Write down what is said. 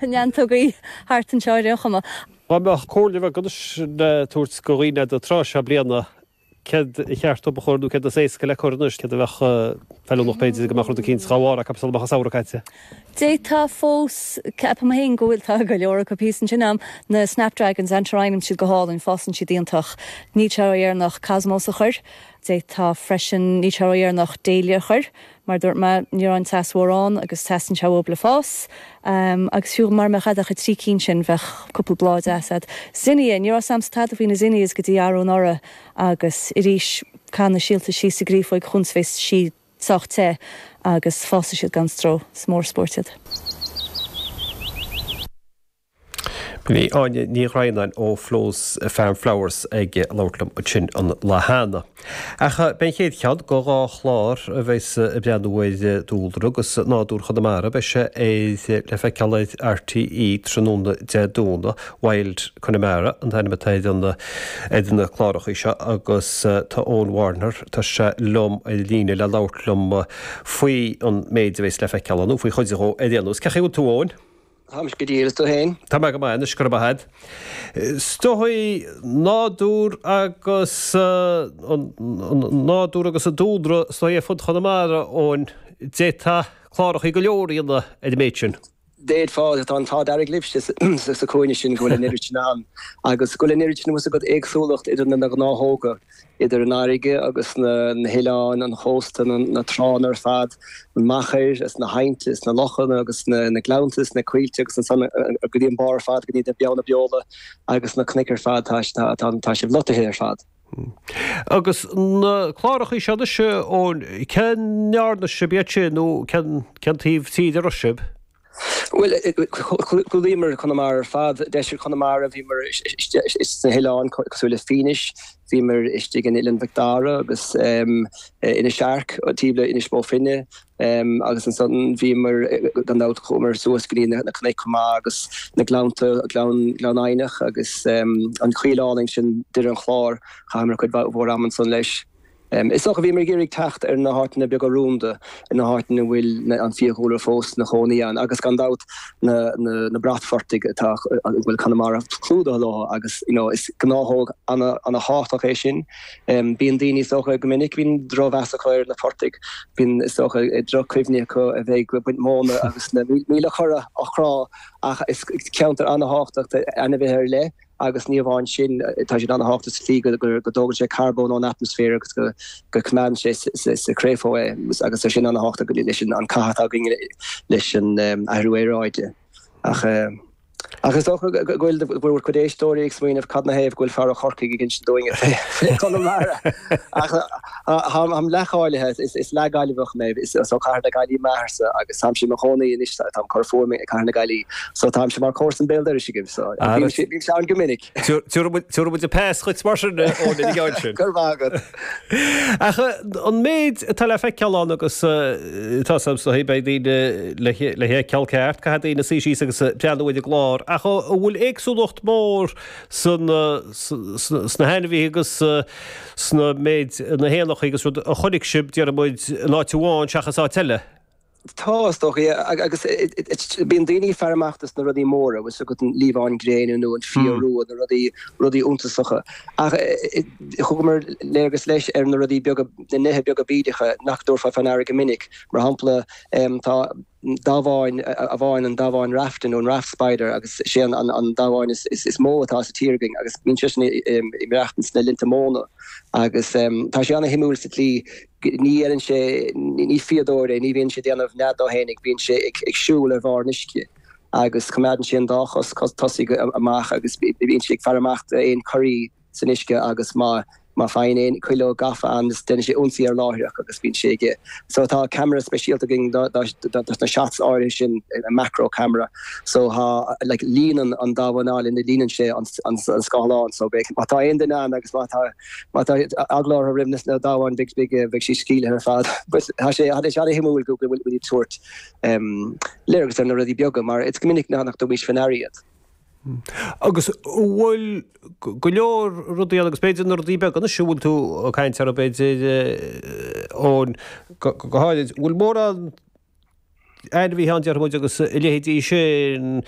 Neantógaí thart anseo ar aon chuma. Dá mbeadh comhairle bheag anois le tabhairt do dhaoine an tráth seo bliana, céard ba cheart dóibh a chur nó céard is éasca le cur anois, céard a bheadh feiliúnach b'fhéidir go mbeadh rud eicínt dhá bharr acu sula mbeadh an samhradh caite? D'fhéadfá fós, ceapaim féin go bhfuil, tá go leor acu thíos ansin a'm, na snapdragons, antirrhinum, siad go hálainn, fásann siad iontach. Níl sé ródheireanach cosmos a chur. D'fhéadfá freisin, níl sé ródheireanach dahlia a chur. Mar a dúirt mé, ní raibh an teas mórán agus teastaíonn sé uathub le fás. Agus fiú mara mbeadh a'd ach an trí cinn sin, bheadh cúpla bláth deas a'd. Zinnia, ní raibh 's a'msa tada faoi na zinnias go dtí arú anuraidh agus arís, caith na síolta síos sa gcréafóig chúns bheas sí sách te agus fásfaidh siad gan stró. Is mór spóirt iad. B'in í Áine Ní Dhroighneáin ó Flo's Farm Flowers ag labhairt liom ansin an lá cheana. Ach beidh an chéad cheann de dhá chlár a bheas ag breathnú ar dúlra agus nádúr Chonamara, beidh sé ar le feiceáil ar RTÉ tráthnóna Dé Domhnaigh. Wild Connemara an t-ainm atá ar an ar na clárachaí seo agus tá Eoin Warner, tá sé liom ar líne le labhairt liom faoi an méid a bheas le feiceáil ann, nó faoi chuid dhó ar aon nós. Cén chaoi a bhfuil tú Eoin? Táimse go diail, is tú féin? Tá mé go maith anois, go raibh maith agat. Is dóigh, nádúr agus an nádúr agus an dúlra is dóigh ar fud Chonamara, Eoin, d'fhéadfá clárachaí go leor a dhéanamh ar an méid sin. D'fhéadfá, tá an t-ádh dearg libhse sa chúinne sin go bhfuil an oiread sin ann agus go bhfuil an oiread sin, bhfuil 's agat, éagsúlacht idir na gnáthóga. Idir an fharraige agus na hoileáin, an chósta, na tránna ar fad, an machair is na haibhnte is na lochanna agus na gleannta is na coillte agus ansan go dtí an barr ar fad go dtí na Beanna Beola agus na cnoic ar fad, tá sibh lotaithe ar fad. Agus na clárachaí seo anois, Eoin, cá ndearna sibh iad sin nó cén taobh tíre a raibh sibh? Bhuel, chlúdaíomar Conamara ar fad, deisceart Chonamara, bhíomar sna hoileáin cosúil le Fínis, bhíomar istigh in Oileán Mhic Dara agus Inis Airc, taobh le Inis Bó Finne, agus ansan bhíomar, gan dabht, chuamar suas go dtí na cnoic chomh maith agus na gleannta, Gleann Eidhneach agus an choill álainn sin, Doire an Chláir, chaitheamar cuid mhór ama ansan leis. Is dócha, bhíomar ag iarraidh teacht ar na háiteanna beaga rúnda, na háiteanna a bhfuil an fiadhúlra fós ina chónaí ann agus gan dabht na bratphortaigh atá, a bhfuil Conamara clúdaithe leo agus you know is gnáthóg ana-thábhachtach é sin. Bíonn daoine is dócha go minic, bíonn drochmheas acu ar na portaigh, bíonn is dócha droch-chuimhní acu a bheith ag baint móna agus na míle cora á chrá ach is ceantar ana-thábhachtach d'ainmhithe ar leith Agus ní amháin sin, tá siad an-thábhachtach sa tslí go dtógann sé carbón ón atmaisféar agus go coimeádann sé sa chréafóg é agus tá sin an-thábhachtach leis an cath atá againn leis an athrú aeráide. Ach ach is dócha go bhfuil bhur cuid éisteoirí ag smaoineamh cad 'na thaobh go bhfuil fear ó Chorcaigh ag insint dúinn fé Chonamara. Ach táim leathcháilithe, is leath-Ghaillimheach mé, is ó Chathair na Gaillimhe m'athairse agus táimse i mo chónaí anois, táim ag cur fúm i gCathair na Gaillimhe, so táimse mar chomharsan béal dorais agaibh, so bímse ann go minic. Tabharfaidh muid an pas dhuit mar sin, Eoin, ina gceann sin. Go raibh maith agat. Ach an méid atá le feiceáil ann agus tá 's a'm, beidh daoine le feiceáil ceart, caithfidh daoine suí síos agus breathnú ar an gclár, ach an bhfuil éagsúlacht mhór sna hainmhithe agus sna méid, na héanacha agus rud a chonaic sibh, déarfaidh muid, in áit amháin seachas áit eile. Tá, is dócha, yeah. Agus bíonn daoine ag faire amach dos na rudaí móra, bhfuil 's agat an liamhán gréine nó an fia rua, na rudaí, rudaí iontasacha. Ach thugamar léargas leis ar na rudaí beaga, na nithe beaga bídeacha nach dtabharfá fá ndeara go minic. Mar shampla, tá damhán amháin, an damhán rafta nó an raft spider, agus sé an damhán is mó atá sa tír againn agus bíonn seisean ag maireachtaint sna linnte móna agus tá sé ana-shuimiúil sa tslí ní dhéanann sé, ní fíodóir é, ní bhíonn sé ag déanamh nead dó fhéinig, bíonn sé ag siúl ar bharr an uisce agus coimeádann sé an dá chos tosaigh amach agus bíonn sé ag faire amach d'aon corraí san uisce agus má má faigheann aon cuileog gafa ann is déanann sé ionsaí air láithreach agus bíonn sé aige. So tá ceamara speisialta againn do dos na shots áirithe sin, macro camera. So tá like líonann an damhán alla, líonann sé an an scáileán so beidh má tá aon duine ann agus má tá má tá eagla orthu roimh na damháin beidh beidh beidh siad scaoilthe ar fad. But tá sé tá sé an-shuimiúil go bhfuil muid ag tabhairt léargas ar na rudaí beaga mar is go minic nach dtugaimís faoi ndeara iad. Agus an bhfuil go leor rudaí ann, agus b'fhéidir na rudaí beaga anois a bhfuil tú ag caint orthu, b'fhéidir, Eoin, go háirid, an bhfuil mórán. Ainmhithe ann, déarfaidh muid, agus a leithéidí sin.